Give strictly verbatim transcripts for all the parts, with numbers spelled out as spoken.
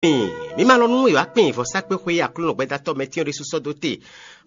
Mǐ ma lɔ nú è wǎ kpin vɔ̌sákpéxwé Aklúnɔ gbɛdátɔ́ mɛtɛ́n ɔ́ ɖésú sɔ́ dó te.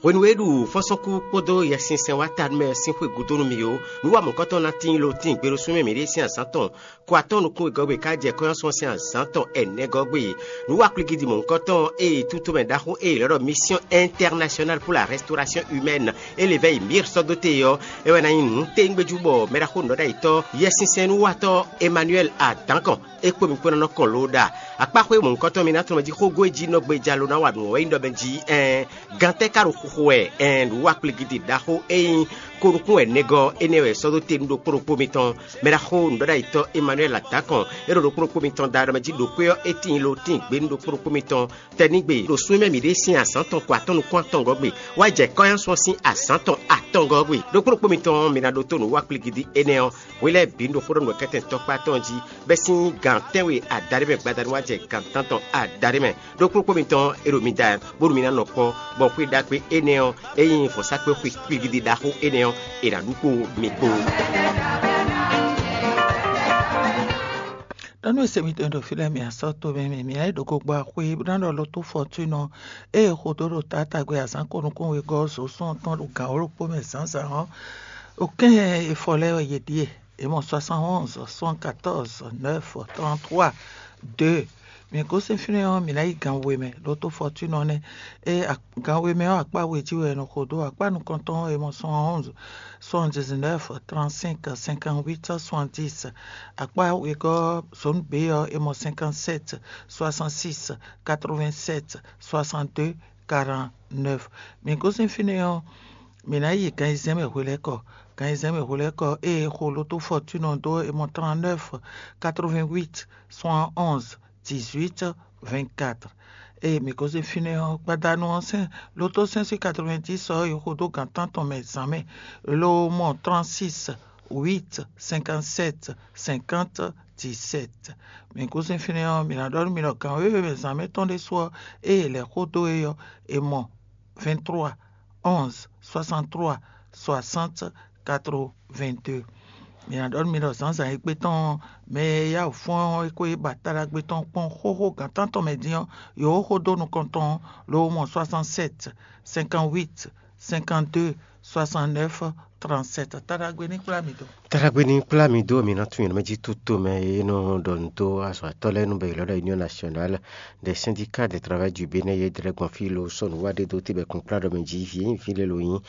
Hwenu e ɖu fɔ́nsɔ́nkú kpódó Yɛsinsɛn wá ta nú mɛ ɔ́ sín xwé gúdo nú mì ó, nǔ wa mɔ̌kɔ́tɔn ná tíin lo tíin gbe ɖo súnmɛ mǐɖée sín azǎn tɔn. Ko atɔ́ɔ́n nukún wegɔ́ gbe ká jɛ kɔ́nyásun ɔ́ sín azǎn tɔn ɛnɛgɔ́ gbe. Nǔ wa kplígídi mɔ̌hunkɔtɔn e tutúmɛ ɖaxó e è lɛ̌ ɖɔ Mission Internationale pour la Restauration Humaine, e lě vɛ́ yi Mir sɔ́ dó te ɔ́, é wɛ ná nyí nǔtɛ́ngbéjú bɔ mɛɖaxó nǔɖɔɖ'ayǐtɔ́ Yɛsinsɛn nǔwatɔ́ Emmanuel Adankɔn é kpó mi kpó ná nɔ kɔn lǒ ɖa. Akpáxwé mɔ̌hunkɔtɔn mi ná tunwun mɛ jí xógó e jí nɔ gbeja lo ná wa nǔ ɔ́ wɛ nyí ɖɔ mɛ jí ɛɛn gantɛ́ ka ɖo xuxo wɛ ɛɛn nǔ wa kplígídi ɖaxó e nyí ko nukún wɛ nɛgɔ́ énɛ́ wɛ sɔ́ dó te nú ɖokpó ɖokpó mitɔn. Mɛɖaxó nǔɖɔɖ'ayǐtɔ́ Emmanuel Adankɔn é ɖo ɖokpó ɖokpó mitɔn da ɖɔ mɛ jí ɖo xwé ɔ́ é tíin lo tíin gbé nú ɖokpó ɖokpó mitɔn tɛnígbe ɖo súnmɛ mǐɖée sín azǎn tɔn ko atɔ́ nukún atɔngɔ́ gbe wá jɛ kɔ́nyásun ɔ́ sín azǎn tɔn atɔngɔ́ gbe. Ɖokpó ɖokpó mitɔn mi ná ɖótó nǔ wa kplígídi énɛ́ ɔ́, hwi lɛ́ɛ bǐ ɖo xó ɖɔ nǔkɛ́tɛn tɔkpá tɔn jí, bɛ́ sín gan tɛ́nwe adaɖé mɛ gbadanu wá jɛ gan tántɔn adaɖé mɛ. Ɖokpó ɖokpó mitɔn e ɖo mi da bónú mi ná nɔ kpɔ́, bɔ xwé ɖagbe énɛ́ ɔ́, e nyí vɔ̌sákpe xwe kpigidi ɖaxó énɛ́ ɔ́, è nǎ ɖu kpó mi kpó. Ɖɔ nú e se mitɔn ɖo fí lɛ́ɛ, mi asɔ́ tomɛ mɛ, mi ayǐ ɖo gogbo axwé bó ná ɖɔ ló tó fɔtúnɔ ée xo dó ɖo taátagbe azǎn ko nukún wegɔ́ zo sɔ́ɔn tɔn ɖo gǎn wǒ ɖokpó mɛ zǎnzǎn ɔ́, ɖo kɛ́n e fɔ lɛ́ɛ wɛ yě ɖíe. È mɔ soixante-onze, soixante-quatorze, neuf, trente-trois, deux. Mǐ gosín fínɛ́ ɔ́, mǐ ná yi gan we mɛ, ló tó fɔtúnɔ nɛ́. É gan we mɛ ɔ́, akpá we jí wɛ è nɔ xo dó. Akpá nukɔntɔn ɔ́, è mɔ soixante-onze, soixante-dix-neuf, trente-cinq, cinquante-huit, soixante-dix. Akpá wegɔ́ zone B ɔ́, è mɔ cinquante-sept, soixante-six, quatre-vingt-sept, soixante-deux, quarante-neuf. Mǐ gosín fínɛ́ ɔ́, mǐ ná yi gan ayizɛ́n mɛ hwelɛ́kɔ. Gan ayizɛ́n mɛ hwelɛ́kɔ ée xo ló tó fɔtúnɔ dó, è mɔ trente-neuf, quatre-vingt-huit, soixante-onze, dix-huit, vingt-quatre. Ée mǐ gosín fínɛ́ ɔ́, gbadanu ɔ́ sɛ́n ló tó sɛ́n sín quatre-vingt-dix ɔ́ yi xo dó gan tántɔn mɛ zǎn mɛ, lo mɔ trente-six, huit, cinquante-sept, cinquante, dix-sept. Mǐ gosín fínɛ́ ɔ́, mǐ ná ɖɔ nú mi ɖɔ gan wěwe mɛ zǎn mɛ tɔn ɖésú ɔ́, ée è lɛ̌ xó dó é ɔ́, è mɔ vingt-trois, onze, soixante-trois, soixante, quatre-vingt-deux. Mǐ ná ɖɔ nú mi ɖɔ zǎnzǎn égbé tɔn ɔ́, mɛ e yá wǔ fɔ́n ɔ́, é ko yi ba taɖagbe tɔn kpɔ́n xóxó gan tántɔn mɛ dín ɔ́, yǒ xó dó nukɔn tɔn ɔ́, lo mɔ soixante-sept, cinquante-huit, cinquante-deux, soixante-neuf, trente-sept. Taɖagbe ní kplá mi dó. Taɖagbe ní kplá mi dó, mi ná tunwun yě mɛ jí tútomɛ e nɔ ɖɔ nǔ dó azɔ̌watɔ́ lɛ́ɛ nú bɔ è lɔ̌ ɖɔ Union Nationale des Syndicats des Travailleurs du Bénin, yě dlɛ́ gbɔn fí lo sɔ́ nǔ wá ɖé dó tibɛ́ kún kplá ɖɔ mɛ jí vǐ e nyí vǐ lě lo nyí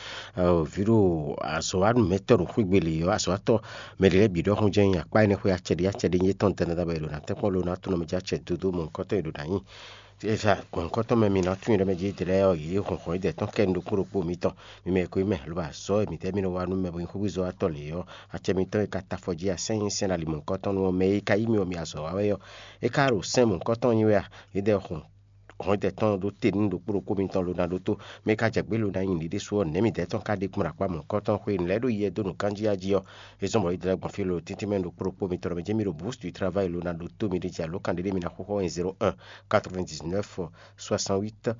vǐ ɖo azɔ̌wanúmɛtɔ́ ɖo xwígbe lě ɔ́, azɔ̌watɔ́ mɛ ɖě lɛ́ɛ bǐ ɖɔhun jɛ́n nyí akpá énɛ́ xwé acɛ ɖé acɛ ɖé nyí étɔn dɛnɛ ɖɔ bɔ è ɖo ná tɛ́nkpɔ́n lo ná tunɔ mɛ jí acɛ dó dó mɔ nukɔntɔn e ɖo ná nyí. Eza gbɔ̌nkɔ́tɔn mɛ mi ná tunwun ɖɔ mɛ jí dlɛ́ ɔ́, yě hɔn hɔn yídɛɛ tɔn kɛ nukún ɖokpó mitɔn. Mi mɛ e ko nyí mɛ, lobo azɔ̌ e mǐtɛ́ mi nɔ wa nú mɛ bo nyí xwégbezɔ́watɔ́ lě ɔ́, acɛ mitɔn e ka ta afɔ jí asɛ́n nyi sɛ́n ali mɔ̌hunkɔtɔn nú ɔ́, mɛ e ka yí mi ɔ́, mi azɔ̌ wa wɛ ɔ́, é ka ɖo sɛ́n mɔ̌hunkɔtɔn nyi wɛ a? Yídɛɛ hɔn hɔn yídɛɛ tɔn ɖó te nú ɖokpó ɖokpó mitɔn lo ná ɖótó, mɛ e ka jɛ gbě lo ná nyi nǔɖiɖe su ɔ́, nɛ̌ midɛɛ tɔn ka ɖe gbɔn akpá mɔ̌hunkɔtɔn xwé nǔ lɛ́ɛ ɖo yɛ dó nǔkanjí jí ɔ́? É zɔ́n bɔ yídɛɛ gbɔn fí lo tíntín mɛ ɖokpó ɖokpó mitɔn ɖɔ mɛ jɛ́n mi ɖo bǔs du travayi lo ná ɖótó mi ɖe jɛ alǒkan ɖé ɖé mi ná xóxó wɛ nyi zéro un quatre-vingt-dix-neuf soixante-huit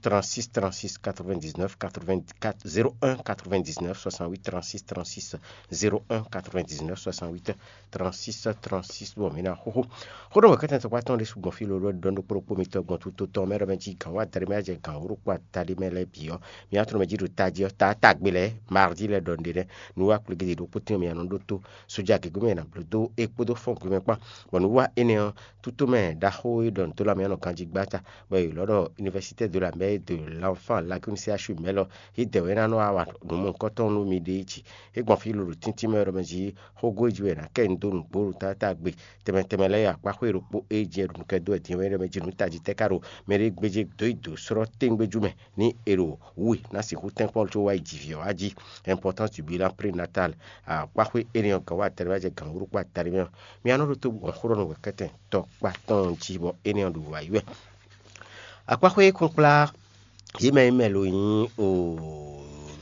trente-six trente-six quatre-vingt-dix-neuf quatre-vingt-quatre zéro un quatre-vingt-dix-neuf soixante-huit trente-six trente-six zéro un quatre-vingt-dix-neuf soixante-huit trente-six trente-six bɔ mǐ ná xóxó. Xó ɖɔ wɛ̌kɛ́tɛn tɔkpá tɔn ɖésú gbɔn fí lodó ɖɔ ɖokpó ɖokpó mitɔn gbɔn tó tɔn mɛ ɖɔ mɛ jí gǎn wá daɖé mɛ jɛ gǎn wó ɖokpó ataɖé mɛ lɛ́ɛ bǐ ɔ́, mǐ ná tunɔ mɛ jí ɖo tají ɔ́, taátagbe lɛ́ɛ mardi lɛ́ɛ ɖɔ nǔɖé nɛ́. Nǔ wá kplé gěgé ɖokpó tɛ́nwe mǐ ná nɔ ɖótó sójà gěgé mɛ ná bló dó é kpódó fɔ́n gbe mɛ kpán. Bɔ nǔ wá énɛ́ ɔ́, tútú mɛ ɖaxó e ɖɔ nǔ dó lanmɛ ɔ́ nɔ ganjí gbá ta, bɔ è lɔ̌ ɖɔ Université de la Mer de l'Enfant Lagune C H U mɛ lɔ, yídɛɛ wɛ é ná nɔ wa nǔ mɔ̌hunkɔtɔn nú mi ɖe jí. É gbɔn fí lolo tíntín mɛ ɖɔ mɛ jí xógó e jí wɛ è nǎ kɛ nyi dó nǔgbó ɖo taátagbe tɛnmɛ tɛnmɛ lɛ́ɛ yi akpá xwé ɖokpó e jí ɛ ɖo nǔ kɛ dó wɛ din wɛ ɖɔ mɛ jí nǔ tají tɛ́ ká ɖo mɛ ɖé gbéjé dó yi dǒ slɔ́ téngbéjú mɛ ní è ɖo wǔ e ná sixú tɛ́nkpɔ́n có wá yi ji vǐ ɔ́ wá jí. Importance du bilan prénatal. Akpá xwé énɛ́ ɔ́ gǎn wá tɛnmɛ wá jɛ gǎn wú ɖokpó ataɖé mɛ ɔ́, mi ná nɔ ɖótó gbɔn xó ɖɔ nú wɛ̌kɛ́tɛn tɔkpá tɔn jí bɔ énɛ́ ɔ́ ɖo wǎ yi wɛ. Akpáxwé kúnkplá yě mɛ e mɛ lo nyí o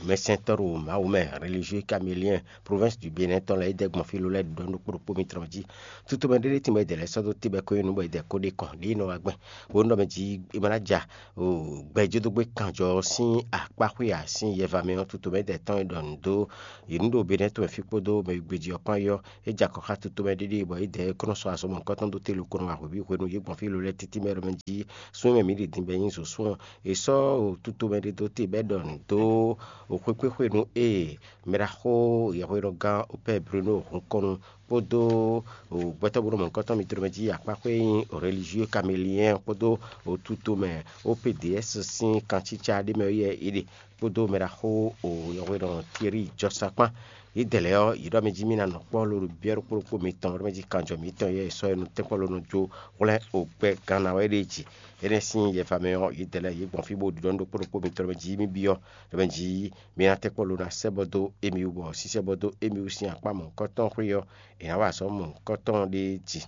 mɛsɛntɔ́ ɖo Mawu mɛ, religieux caméléen, province du Bénin tɔn lɛ́ɛ, é dɛ́ gbɔn fí ló lɛ́ɛ ɖɔ nú kpóɖokpó mitɔn jí. Tutomɛ ɖé ɖé tínmɛ é dɛ̌ lɛ́ sɔ́ dó tébɛ́ kɔ́ nyi nú bɔ é dɛ̌ kó ɖe kɔn ɖě nɔ wá gbɛn, bó nɔ mɛ jí é ma ná ja gbɛjédógbé kanjɔ sín akpáxwé ǎ sín yɛva mɛ ɔ́. Tutomɛ é dɛ̌ tɔn e ɖɔ nǔ dó yě nú ɖo Bénin tɔn mɛ fí kpódó mɛ e gbé jí ɔ́ kpán é ɔ́, é jɛ akɔ xá tutomɛ ɖé ɖíe bɔ é dɛ̌ é kó nɔ sɔ́ azɔ̌ mɔ̌hunkɔtɔn dó te lo kó nɔ wa hweví hwenu yě gbɔn fí ló lɛ́ɛ títí mɛ ɖɔ mɛ jí súnmɛ mǐ ɖi din bɔ é nyí zǒsún ɔ́. È sɔ́ tutomɛ ɖé dó te bɔ é ɖɔ nǔ dó xwekpéxwenu e mɛɖaxó yɛhweɖɔgán Opɛ́ Bruno hun kɔn nu kpódó gbɛtɔ́ Bruno mɔ̌hunkɔtɔn mitɔn mɛ jí akpáxwé e nyí religieux caméléen kpódó tutomɛ O P D S sín kancíca ɖé mɛ ɔ́ yɛ é ɖe kpódó mɛɖaxó yɛhweɖɔ Thierry Jɔsa kpán. Yědɛɛ lɛ́ɛ ɔ́, yě ɖɔ mɛ jí mì ná nɔ kpɔ́ ló ɖo byɔ́ ɖokpó ɖokpó mitɔn ɖɔ mɛ jí kanjɔ mǐtɔn yɛ è sɔ́ ɛ nú tɛ́nkpɔ́ ló nɔ jó hwlɛ́n o gbɛ gannawɛ ɖé jí. Énɛ́ sín yɛfa mɛ ɔ́, yědɛɛ lɛ́ɛ yě gbɔn fí bó ɖiɖɔ nú ɖokpó ɖokpó mitɔn ɖɔ mɛ jí mì byɔ́ ɖɔ mɛ jí mì ná tɛ́nkpɔ́ ló ná sɛ́ bɔ dó émí wú, bɔ sísɛ́ bɔ dó émí wú sín akpá mɔ̌hunkɔtɔn xwé ɔ́, è nǎ wa azɔ̌ mɔ̌hunkɔtɔn ɖé jí.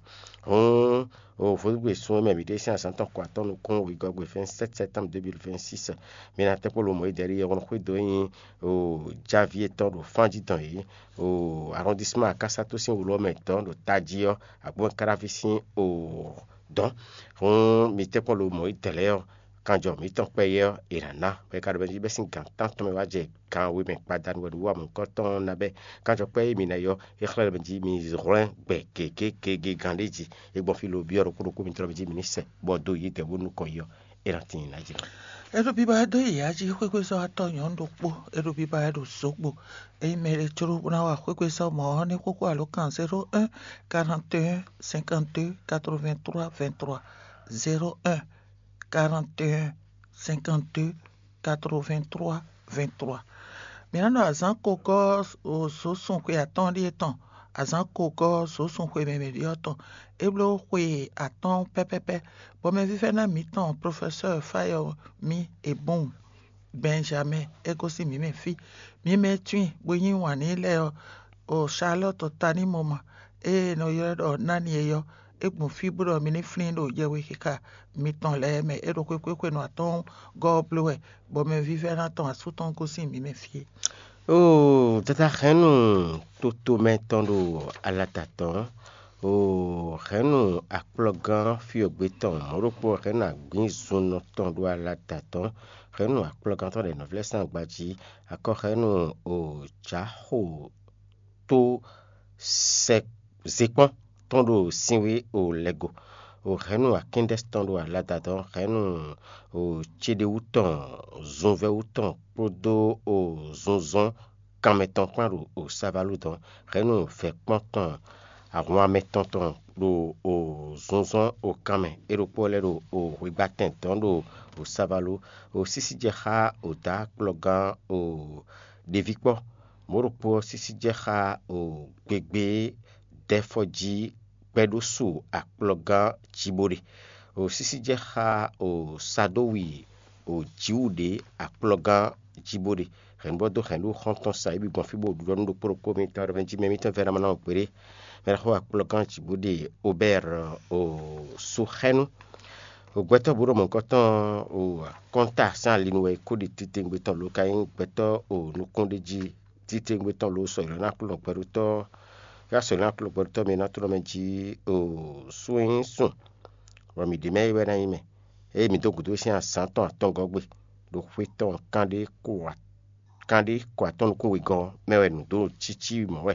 Hǔn o vodúngbè sun e mɛ mǐ ɖe sín azǎn tɔn kɔ atɔ́ nukún wegɔ́gbe vingt-sept septembre deux mille vingt-six. Mi ná tɛ́nkpɔ́ lomɔ̌ yi dɛ̌ ɖi yɔhɔn xwé dó nyi o javí etɔn ɖo fán jí dɔn yě o arrondissement Akasato sín wlú ɔ́ mɛ dɔn ɖo tají ɔ́, agbɔ́n Káráví sín o dɔn. Hǔn mi tɛ́nkpɔ́ lomɔ̌ yi dɛ̌ lɛ́ɛ ɔ́, kanjɔ mǐtɔn kpɛyɛ ɔ́, è nǎ ná, bɔ é ka ɖo mɛ jí bɛ́ sín gǎn tántɔn mɛ wá jɛ gan we mɛ gbadanu wɛ ɖo wú amɔ̌hunkɔtɔn ná bɛ́. Kanjɔ kpɛ́ e mǐ ná ylɔ́ é xlɛ́ mɛ jí mi hwlɛ́n gbɛ gěgé gěgé gán ɖé jí. É gbɔn fí lo byɔ́ ɖokpó ɖokpó mitɔn mɛ jí mi ní sɛ, bɔ dó yě dɛ̌ bó nukɔn yi ɔ́, é ná tíin ná jlɛ́. É ɖo biba wɛ dó yi yǎ jí xwégbé sɔ́ atɔ́ nyɔ̌nu ɖokpó, é ɖo biba wɛ ɖo zǒgbo. Ényí mɛ ɖé jló bó ná wa xwégbé sɔ́ mɔ̌ ɔ́, ní xóxó alǒkan zéro un quarante et un cinquante-deux quatre-vingt-trois vingt-trois, zéro un quarante et un cinquante-deux quatre-vingt-trois vingt-trois. Mǐ ná ɖo azǎn kogɔ́ zǒsun xwe atɔ́ɔ́n ɖíe tɔn, azǎn kogɔ́ zǒsun xwe mɛmɛ ɖíe ɔ́ tɔn. É bló xwe atɔ́ɔ́n pɛ́pɛ́pɛ́, bɔ mɛvívɛ́ná mǐtɔn Profɛsɛ́ɛ Fáyɔmí Ebɔ́ɔn Bɛnjamɛ́ɛ é gosín mǐ mɛ fí. Mǐ mɛ e tunwun i bó yí wǎn n'i lɛ́ɛ ɔ́, o Salɔ́tɔ Tanímɔma, ée è nɔ ylɔ́ ɖɔ Nani é ɔ́, é gbɔn fí bó ɖɔ mi ní flín ɖo yɛhwexixa mitɔn lɛ́ɛ mɛ. É ɖo xwé xwé xwenu atɔ́ɔ́n gɔ́ ɔ́ bló wɛ, bɔ mɛvívɛ́ná tɔn asú tɔn gosín mǐ mɛ fí é. Oo, dada hɛ̌nnu totomɛ tɔn ɖo alata tɔn, oo, hɛ̌nnu akplɔ́gán fyɔ́gbé tɔn mɔ̌ ɖokpó, hɛ̌nnu agbǐnzunnɔ tɔn ɖo alata tɔn, hɛ̌nnu akplɔ́gán tɔn ɖo nɔvlɛ́sán gbají, akɔ hɛ̌nnu o jǎxo tó sɛ zekpɔ́n tɔn ɖo sinwé o lɛgo, o hɛ̌nnu akíndɛ́ tɔn ɖo alada tɔn, hɛ̌nnu o céɖéwú tɔn, zunvɛ́wú tɔn kpódó o zunzɔ́n kanmɛ tɔn kpán ɖo o savalú dɔn, hɛ̌nnu vɛ̌kpɔ́n tɔn, ahwan mɛtɔn tɔn ɖo o zunzɔ́n o kanmɛ, é ɖokpó lɛ́ ɖo o hwegbatɛn dɔn ɖo o savalú, o sísí jɛ xá o dǎ kplɔ́gán o ɖeví kpɔ́. Mɔ̌ ɖokpó ɔ́ sísí jɛ xá o gbegbé dɛ́fɔ́jí gbɛɖósu akplɔ́gán Jiboɖe. O sísí jɛ xá o Sadówi o Jiwuɖe akplɔ́gán Jiboɖe. Hɛ̌nnu bɔ dó hɛ̌nnu xɔ́ntɔn sa ébi gbɔn fí bó ɖuɖɔ nú ɖokpó ɖokpó mitɔn ɖɔ mɛ jí mɛ mitɔn vɛ́ ná ma ná wɔ gbeɖé. Mɛ ɖaxó akplɔ́gán Jiboɖe Obɛ́ɛr o Suxɛ́nu. Gbɛtɔ́ bǔ ɖo mɔ̌hunkɔtɔn o kɔ́nta sín ali nu wɛ é kó ɖi titewungbe tɔn lo ka nyí gbɛtɔ́ o nukúnɖéjí titewungbe tɔn lo sɔ̌ ylɔ́ ná Aklúnɔ gbɛɖótɔ́, yá sɔ̌ ylɔ́ ná Aklúnɔ gbɛɖótɔ́ mi ná tlɔ́ mɛ jí o sún e nyí sún, bɔ mǐ ɖě mɛ é wɛ ná nyí mɛ. Ée mǐ dó gǔdo sín azǎn tɔn atɔngɔ́ gbe ɖo xwe tɔn kanɖé kó kanɖé kɔ atɔ́ nukún wegɔ́ ɔ́ mɛ wɛ nǔ dó cící mɔ̌ wɛ.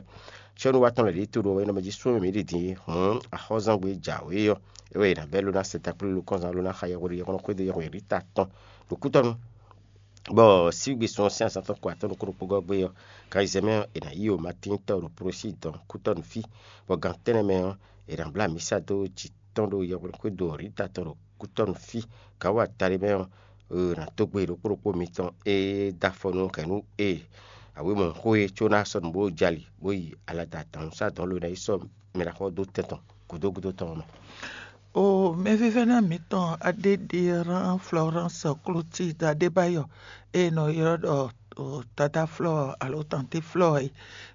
Cɔ́nú wa tɔn lɛ̌ ɖě to ɖo wɛ nɔ mɛ jí sú mɛ mǐ ɖi din é hǔn axɔ́zángbé jǎwe ɔ́, é wɛ è nǎ bɛ́ ló ná sɛ takplé lókɔ́nzán ló ná xa yɛhweɖé yɔkɔ́nɔ xwédo yɛhweɖí ta tɔn ɖo kútɔ́nu. Bɔ síwígbe sun ɔ́ sín azǎn tɔn kɔ atɔ́ nukún ɖokpó gɔ́ gbé ɔ́, Kayizɛmɛ ɔ́, è nǎ yí o Matín tɔn ɖo Prosíi dɔn kútɔ́nu fí, bɔ gan tɛ́nnɛ mɛ ɔ́, è nǎ bló amǐsa dó jǐ tɔn ɖo yɛhweɖí xwédo Rita tɔn ɖo kútɔ́nu fí. Gǎn wa taɖé mɛ ɔ́, è nǎ dó gbe ɖokpó ɖokpó mitɔn e dó afɔ nú hɛ̌nnu e awěmɔxó e có ná sɔ́ nǔ bó jɛ ali bó yi alada dǎnúsá dɔn lo ná yi sɔ́ mɛ ɖaxó ɔ́ dó tɛn tɔn gǔdo gúdo tɔn ɔ́ mɛ. O mɛvívɛ́ná mǐtɔn Adéɖiran Florence Clotilde Adébáyọ̀ e è nɔ ylɔ́ ɖɔ ɖo dadá Flɔ́ɔ alo tantí Flɔ́ɔ é,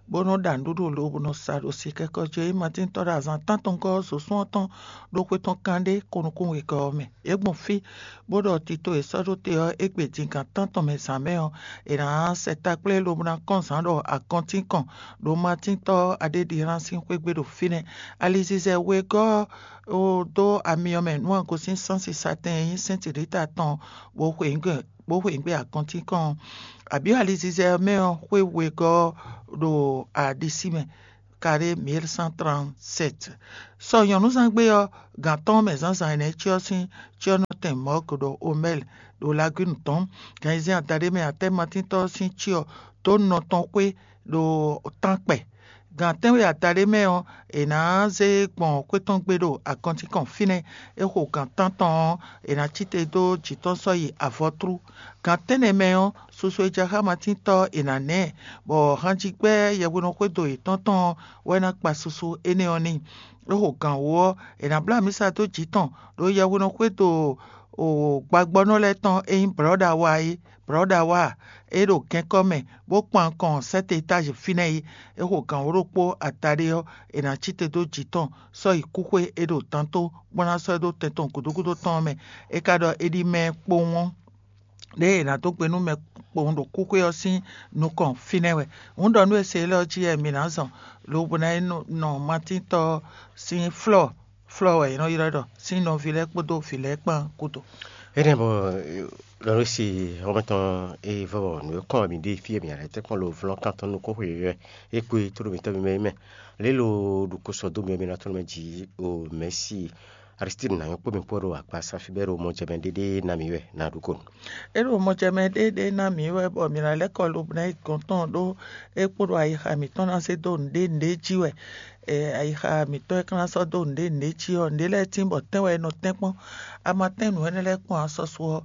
bó nɔ́ ɖa nǔɖuɖu lobo nɔ sa ɖo sikɛ́kɔ́ jí. É nyí Matín tɔ́ ɖo azǎn tántɔngɔ́ ɔ́ zǒsún ɔ́ tɔn ɖó xwé tɔn kanɖé ko nukún wegɔ́ ɔ́ mɛ. É gbɔn fí, bó ɖɔ tito e sɔ́ ɖó te ɔ́, égbé din gan tántɔn mɛ zǎn mɛ ɔ́, è nǎ sɛ takplé lobo ná kɔn zǎn ɖɔ agɔntín kɔn ɖo Matín tɔ́ Aɖéɖihlán sín xwé gbe ɖo fínɛ́. Alizizɛ wegɔ́ ɔ́ dó amyɔ mɛ nú agosín sánsisatɛn e nyí sɛ́ntilita tɔn bó xwe nǔ gbe bó xwe nǔ gbe agɔntín kɔn ɔ́, abǐ alizizɛ ɔ́ mɛ ɔ́ xwé wegɔ́ ɔ́ ɖo aɖisí mɛ, carré mille cent trente-sept. Sɔ nyɔ̌nuzángbe ɔ́, gan atɔ́ɔ́n mɛ zǎnzǎn énɛ́ cyɔ sín cyɔ́nɔtɛn Mɔ̌ɔk ɖo Omɛ́l ɖo Lagwínu tɔn. Gan ayizɛ́n adaɖé mɛ atɛ́matíntɔ́ ɔ́ sín cyɔ dó nɔ tɔn xwé ɖo tánkpɛ. Gan tɛ́nwe adaɖé mɛ ɔ́, è nǎ zé gbɔn xwé tɔn gbe ɖo agɔntín kɔn fínɛ́. É xo gan tántɔn ɔ́, è nǎ cí te dó jǐ tɔn sɔ́ yi avɔtlú. Gan tɛ́nnɛ mɛ ɔ́, susu e jɛ xá Matín tɔ́ ɔ́, è nǎ nɛ́ ɛ, bɔ hanjigbɛ́ yɛhweɖɔxwédo yětɔn tɔn ɔ́ wɛ ná kpa susu énɛ́ ɔ́ n'i. É xo gan wǒ ɔ́, è nǎ bló amǐsa dó jǐ tɔn ɖo yɛhweɖɔxwédo gbagbɔ́nɔ lɛ́ɛ tɔn e nyí Blɔ̌ɖawa é. Blɔ̌ɖawa ɔ́, é ɖo gɛ́nkɔ́ mɛ, bó kpan kɔn sɛ́te étazi fínɛ́ é. É xo gan wǒ ɖokpó adaɖé ɔ́, è nǎ cí te dó jǐ tɔn sɔ́ yi kúxwé e ɖo dantó, bó ná sɔ́ ɛ dó tɛn tɔn gǔdo gúdo tɔn ɔ́ mɛ. É ka ɖɔ é ɖi mɛ kpowun ɔ́, ɖěe è nǎ dó gbe nú mɛ kpowun ɖo kúxwé ɔ́ sín nukɔn fínɛ́ wɛ. Hǔn ɖɔ nú e se élɔ́ jí wɛ mǐ ná zɔn, lobo ná yi nɔ Matíntɔ́ ɔ́ sín flɔ́ɔ, flɔ́ɔ wɛ è nɔ ylɔ́ ɖɔ sín nɔví lɛ́ɛ kpódó vǐ lɛ́ɛ kpán gúdo. Énɛ́ bɔ Lɔlɔsi xɔmɛtɔn e vɔ nǔ e kɔn mì ɖe fí e mǐ lɛ́ tɛ́nkpɔ́n lo vlɔ́n kan tɔn nukún xwe wɛ é kpé tlóló mǐtɔn mímɛ́ mɛ. Lě lo ɖu ko sɔ dó mì ɔ́, mi ná tɔ́n mɛ jǐ o mɛ̌si Aristide ná nyɔ́ kpó mi kpó ɖo akpasa fí bɔ é ɖo mɔjɛmɛ ɖéɖé ná mǐ wɛ ná ɖu ko. É ɖo mɔjɛmɛ ɖéɖé ná mǐ wɛ bɔ mǐ ná lɛ́ kɔ lo bɔ ná yi gɔ̌n tɔn ɖó é kpó ɖo ayixa mǐtɔn ná zé dó nǔɖé nǔɖé jí wɛ. Ayixa mǐtɔn e ka ná sɔ́ dó nǔɖé nǔɖé jí ɔ́, nǔɖé lɛ́ɛ tín bɔ tɛ́n wɛ è nɔ tɛ́n kpɔ́n. A ma tɛ́n nǔ énɛ́ lɛ́ɛ kpɔ́n ǎ, sɔ́sú ɔ́,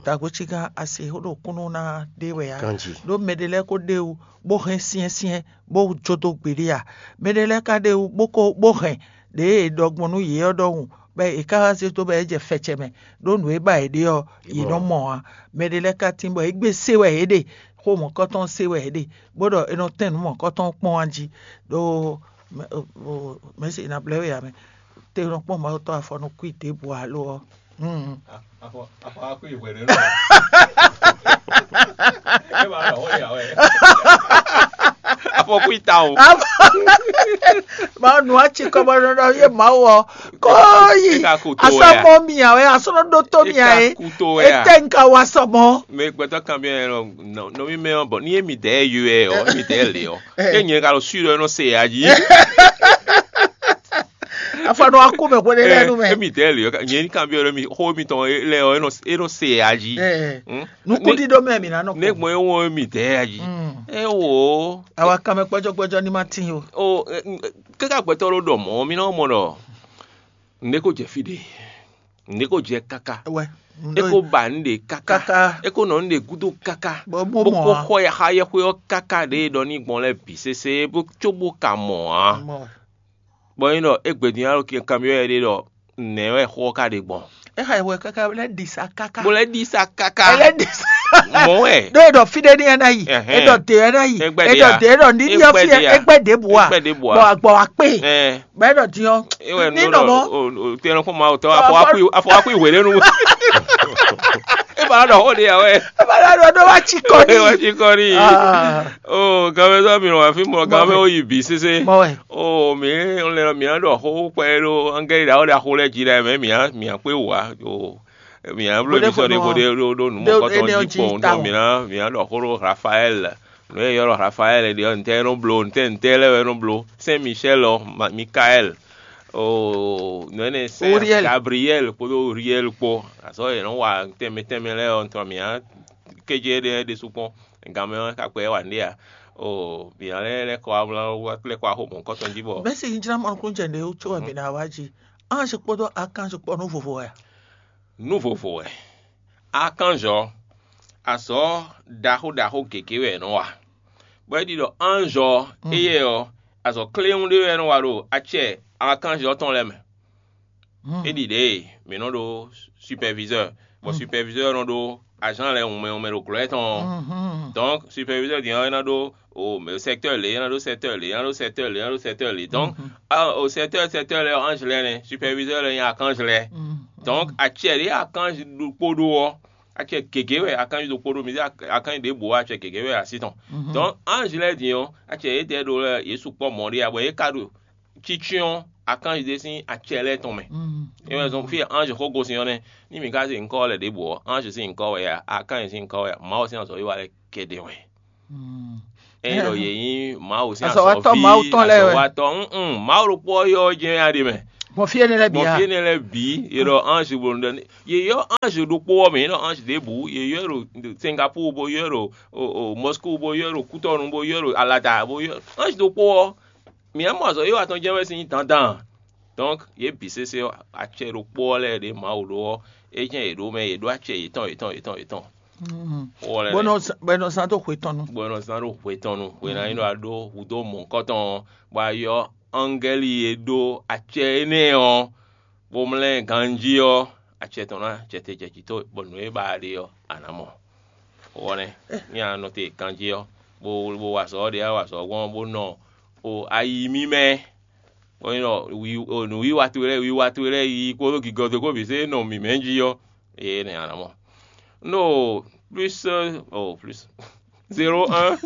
dǎgojígán asi xó ɖo kúnnu ná ɖe wɛ ǎ. Ɖó mɛ ɖé lɛ́ɛ ko ɖe wú bó hɛn syɛ́nsyɛ́n bó jó dó gbeɖé ǎ. Mɛ ɖé lɛ́ɛ ka ɖe wú bó ko bó hɛn ɖěe è ɖɔ gbɔn nú yě ɔ́ ɖɔhun, bɔ è ka wá zé dó bɔ é jɛ fɛcɛ mɛ, ɖó nǔ e ba yě ɖe ɔ́, yě nɔ mɔ ǎ. Mɛ ɖé lɛ́ɛ ka tín bɔ é gbé se wɛ yě ɖe, xó mɔ̌kɔ́tɔn se wɛ yě ɖe, bó ɖɔ è nɔ tɛ́n nǔ mɔ̌kɔ́tɔn kpɔ́n wá jí, ɖó mɛ̌si ná blɛ́ we ǎ mɛ. Te nɔ kpɔ́n Mawu tɔn afɔ nɔ kú i ɖěbǔ alo ɔ́. Afɔ afɔ akú ìwé rẹ lọ. Ẹ máa lọ wọ́n yà wẹ́. Afɔkú ìta o. Mawu nù atsi kɔmɔɖɔɖɔ yé Mawu ɔ kó yi. Eka kú tó wɛ a? Asɔmɔ mia wɛ asɔnɔ ɖó tó mia Eka yé. Kú tó wɛ a? Ete nka wa sɔmɔ. Mɛ gbɛtɔ kan bi yɛ lɔ nɔ mi mɛ ɔ bɔ ni emi dɛ yɔ ɛ ɔ emi dɛ le ɔ. Ke nyɛ ka lɔ sui ɖɔ ɛnɔ se ya dzi. Afɔ nɔ akú mɛ hwele lɛ nu mɛ. Emi dɛ le ɔ nyɛ ni kan bi yɔ mi xo mi tɔn lɛ ɔ ɛnɔ se ya dzi. Nukuɖiɖo mɛ mi na nɔ ne kpɔn. Gbɔn ewɔ mi dɛ ya dzi. Ewo. Awa kan mɛ gbɔjɔgbɔjɔ ni ma tin o. O kaka gbɛtɔ ɖo ɖɔ mɔ mi na mɔ ɖɔ nde ko jɛ fi ɖe. Nde ko jɛ kaka. Wɛ. E ko ba nu ɖe kaka. Kaka. E ko nɔ nu ɖe gudo kaka. Bɔ mo Bó mɔ ko a. Xɔ ya xa yɛxwe ɔ kaka ɖe ɖɔ ni gbɔn lɛ bi sese bó tso bó ka mɔ a. Mɔ. Bɔ nyi ɖɔ egbe din alo kanbyɔ yɛ ɖe ɖɔ nɛ wɛ xɔ ka ɖe gbɔn. Exa wɛ kaka lɛ ɖi sa kaka. Bó lɛ ɖi sa kaka. Lɛ ɖi sa. Mɔ wɛ. Ɖo eɖɔ fi ɖe ni ɛna yi. Ɛhɛn. Eɖɔ de ɛna yi. Egbɛ de Eɖɔ a. De eɖɔ ni ɖi Egbɛ fi de a. Egbɛ de bu a. Egbɛ de bu a. Bɔ agbɔ akpe. Ɛɛ. Bɛ eɖɔ din ɔ. Ewɛ Ni nu nɔ ɖɔ mɔ. O o tɛnɛ kó ma o tɔ Ɔ, afɔ akui afɔ akui wele nu. E ba ɖɔ o de ya wɛ. Eba la ɖɔ ɖo wa tsi kɔ E wa ni. Tsi kɔ ni. Ah. O gamɛ sɔ mi nɔ wa fi mɔ gamɛ o yi bi sese. Mɔ wɛ. O mi lɛ mi a ɖɔ xo kpɛ ɖo angɛli ɖa o ɖa xo lɛ dzi ɖa mɛ mi a mi a kpe wa o mi a blo Bode mi sɔ de fo bode ɖo ɖo nu Ɖo mɔkɔtɔ ene ɔ dzi dzi kpɔn ta tɔ o. Mi na mi a ɖɔ xo ɖo Rafael nu e yɔrɔ Rafael ɖe ɔ ntɛ nɔ blo ntɛ ntɛ lɛ wɛ nɔ blo Saint Michel ɔ Ma- Michael o nu ene Saint Uriel. Gabriel kpodo Uriel kpo azɔ yɛ nɔ wa tɛmɛ tɛmɛ lɛ ɔ ntɔ mi a kedze ɖe ɖe sukpɔn gamɛ ɔ kakpɛ wa nɖe a o mi a lɛ lɛ kɔ amla wa lɛ kɔ axo mɔkɔtɔ dzi bɔ Bɛsi yi dzra mɔnukúnjɛ ɖe tso wɛ mi na wa dzi. Ange kpódó akange kpɔ nú vovo wɛ. Nú vovo wɛ. Akanzɔ, azɔ̌ ɖaxó ɖaxó gěgé wɛ è nɔ wa. Bɔ é ɖi ɖɔ anzɔ éyɛ́ ɔ́, azɔ̌ kléwún ɖé wɛ é nɔ wa ɖo acɛ akanzɔ tɔn lɛ́ɛ mɛ. É ɖi ɖě mǐ nɔ ɖó superviseur, bɔ superviseur nɔ ɖó agent lɛ́ɛ wunmɛ wunmɛ ɖo glɔ́ tɔn ɔ́. Donc superviseur din ɔ́ é ná ɖó o secteur lě, é ná ɖó secteur lě, é ná ɖó secteur lě, é ná ɖó secteur lě. Donc o secteur secteur lɛ́ɛ ange lɛ́ɛ nɛ́, superviseur lɛ́ɛ nyí archange lɛ́ɛ. Donc acɛ ɖě archange ɖokpó ɖó ɔ́, acɛ gěgé wɛ archange ɖokpó ɖó, mǐ zé archange ɖěbǔ ɔ́ acɛ gěgé wɛ así tɔn. Donc ange lɛ́ɛ din ɔ́, acɛ yědɛɛ ɖó lɛ́ɛ yě sukpɔ́ mɔ̌ ɖé ǎ, bɔ yě ka ɖo cicyɔ́n archange ɖé sín acɛ lɛ́ɛ tɔn mɛ. É wɛ zɔn fí e ange xó gosín ɔ́ nɛ́. Ní mǐ ka zé nyǐkɔ ɔ́ lɛ ɖěbǔ ɔ́, ange sín nyǐkɔ wɛ a, archange sín nyǐkɔ wɛ a, Mawu sín azɔ̌wiwa lɛ́ɛ kɛɖɛ́ wɛ. Ényí ɖɔ yě nyí Mawu sín azɔ̌watɔ́ Mawu tɔn lɛ́ɛ wɛ. Azɔ̌watɔ́, mm, Mawu ɖokpó ɔ́ yɔ ɔ́ jɛ́n wɛ a ɖe mɛ. Gbɔn fí énɛ́ lɛ́ɛ bǐ Gbɔn a? Fí énɛ́ lɛ́ɛ bǐ, è ɖɔ ange bo ɖɔ, yě yɔ ange ɖokpó ɔ́ mɛ, yě ɖɔ ange ɖěbǔ, yě yɔ ɖo Singapour, bó yɔ ɖo o, o, Moscou, bó yɔ ɖo Kútɔnu, bó yɔ ɖo Alata, bó yɔ ange ɖokpó ɔ́. Mǐ mɔ azɔ̌ e wa tɔn jɛ́n wɛ sín dandan. Donc yě bǐ sésé ɔ́, acɛ ɖokpó ɔ́ lɛ́ɛ ɖě Mawu ɖó ɔ́, é jɛ́n yě ɖó mɛ, yě ɖó acɛ yětɔn yětɔn yětɔn yětɔn. Xó ɔ́ lɛ́ɛ bɔ è nɔ zán- bɔ è nɔ zán dó hwe tɔn nu. Bɔ è nɔ zán ɖo hwe tɔn nu, hwe ná nyí ɖɔ a ɖó hudó mɔ̌hunkɔtɔn ɔ́, bɔ a yɔ angɛ́li e ɖó acɛ énɛ́ ɔ́, bó mlɛ́ ganjí ɔ́, acɛ tɔn ná acɛ te jɛ jǐ towe, bɔ nǔ e ba a ɖe ɔ́, a nǎ mɔ. Xó ɔ́ nɛ́, ní a nɔ te ganjí ɔ́, bó bó wa azɔ̌ ɔ́ ɖe, a wa azɔ̌ gbɔn bó nɔ o ayi mímɛ́. Bɔ nyí ɖɔ wi o nǔwiwa towe lɛ́ɛ, wiwa towe lɛ́ɛ yi kpódó gigɔ towe kpó bǐ zé nɔ mǐmɛ́ jí ɔ́, eye nɛ a nǎ mɔ. No plus, oh, plus zéro un.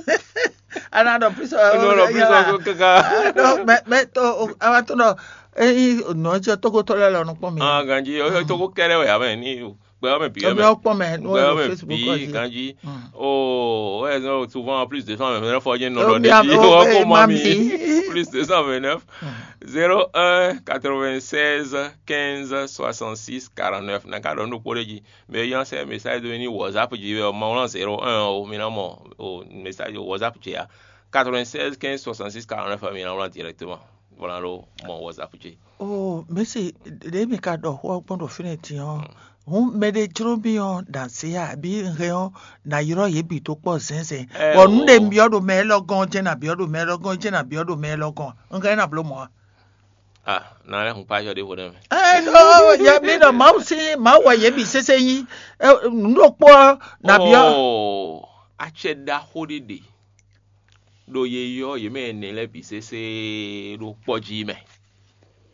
Ana ɖɔ plus. No, no, plus kaka. Mɛ mɛ to awa to nɔ eyi nɔ jɛ togotɔ lɛ lɔ nukpɔn mi. Ah, ganji, o to ko kɛlɛ wɛ amɛ ni gbɛ wɛ mɛ bi. Emi ɔkpɔ mɛ no gbɛ wɛ wɛ mɛ Facebook bi, ganji. Oh, ouais, non, souvent plus deux cent vingt-neuf fois j'ai non. Emi de ame o ɔkpɔ ma mi. Plus deux cent vingt-neuf. Zéro un quatre-vingt-seize quinze soixante-six quarante-neuf. Na ka ɖɔ nu kpó ɖe jí. Mais yan sɛ message do ni WhatsApp jí wɛ, ma wlán zéro un o, mi na mɔ o message WhatsApp jí ya. Quatre-vingt-seize quinze soixante-six quarante-neuf, mi na wlán directement. Voilà lo mɔ WhatsApp jí. Oh, mesi ɖe mi ka ɖɔ xó ɔ́ gbɔn ɖo fínɛ́ din ɔ́, hǔn mɛ ɖé jló mì ɔ́ ɖo azě a, abǐ un hɛn ɔ́, nǎ ylɔ́ yě bǐ dó kpɔ́ zɛ̌nzɛ̌n. Bɔ nǔ ɖe un byɔ́ ɖo mɛ élɔ́ gɔ́n ɔ́ jɛ́n nǎ byɔ́ ɖo mɛ élɔ́ gɔ́n ɔ́ jɛ́n nǎ byɔ́ ɖo mɛ élɔ́ gɔ́n. Un hɛn ná bló mɔ̌ a? Ah, na lɛ́ hun kpájɔ ɖěvo nɛ́ mɛ. Ɛ ɖo yɛ mi ɖɔ Mawu sín Mawu wɛ yě bǐ sésé nyí. Nǔ ɖokpó ɔ́ nǎ byɔ́. Oh, acɛ ɖaxó ɖé ɖe ɖo ye yɔ yě mɛ ɛnɛ lɛ́ɛ bǐ sésé ɖo kpɔ́ jí mɛ.